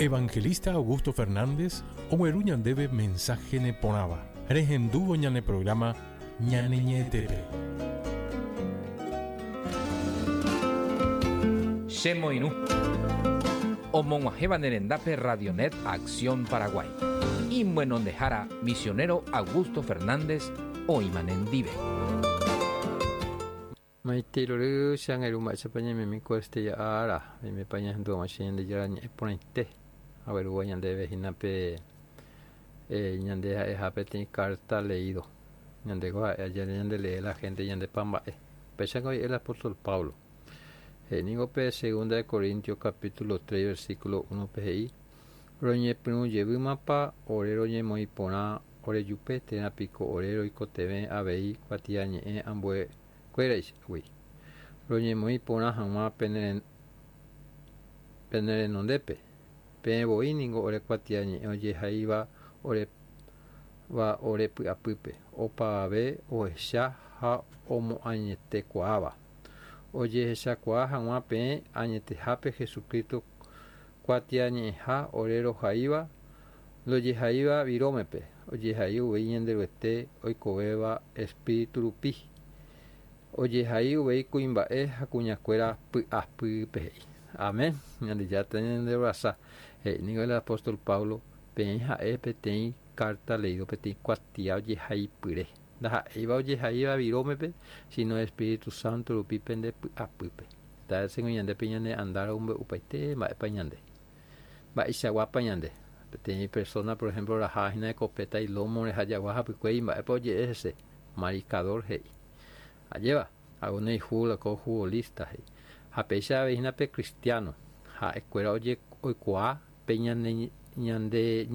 Evangelista Augusto Fernández ogueru ñandéve mensaje neporãva. Rehendúvo ñane programa ñane ñe'ẽtépe. Che moirũ. Omog̃uahẽva ne rendápe Radionet Acción Paraguay. Imyenondehára misionero Augusto Fernández oĩma nendive. Maitei rory, che angirũ mba'éichapa ñaimemi ko este ára, oimépa ñahendu hag̃ua che Ñandejára ñe'ẽ porãite, aguerúva ñandéve hína pe ñande ha'eha peteĩ carta leído. Ñandéko ha'e aja ñande lee la gente ñandepa mba'e. Upéicha oje'e el apóstol Pablo. He'i ningo pe segunda de Corintios capítulo 3 versículo 1 pe he'i, Roñepyrũ jevýmapa ore roñemoĩ porã orejupe térã piko ore roikotevẽ avei kuatiañe'ẽ ambue kuéraichagui, roñemoĩ porã hag̃ua pene renondépe. Peẽ voi ningo ore kuatiañe'ẽ ojehaíva ore va ore py'apýpe, opavave ohecha ha omoañetekuaáva. Ojehechakuaa hag̃ua peẽ añetehápe Jesucristo kuatiañe'ẽha ore rohaíva, ndojehaíva virómepe, ojehai uvei Ñanderuete oikovéva Espíritu rupi. Ojehai uvei kuimba'e ha kuñakuéra py'apýpe he'i. Amén. Ñandejára tañanderovasa. He'i ningo el apóstol Pablo, peẽ ha'e peteĩ carta leído peteĩ kuatia ojehaipyre. Ndaha'éiva ojehaíva virómepe, sino Espíritu Santo rupi pende py'apýpe. Heta vésengo ñande pe ñane andára omombe'upaite mba'épa ñande. Mba'eichaguápa ñande. Peteĩ persona, por ejemplo, oraha hína escopeta ilómore ha jagua hapykuéri mba'épa oje'e hese. Mariscador he'i. Ajéva, alguno ifútbol ko futbolista he'i. Ha péicha avei hína pe cristiano. Ha'ekuéra oikuaa pe ñane ñande.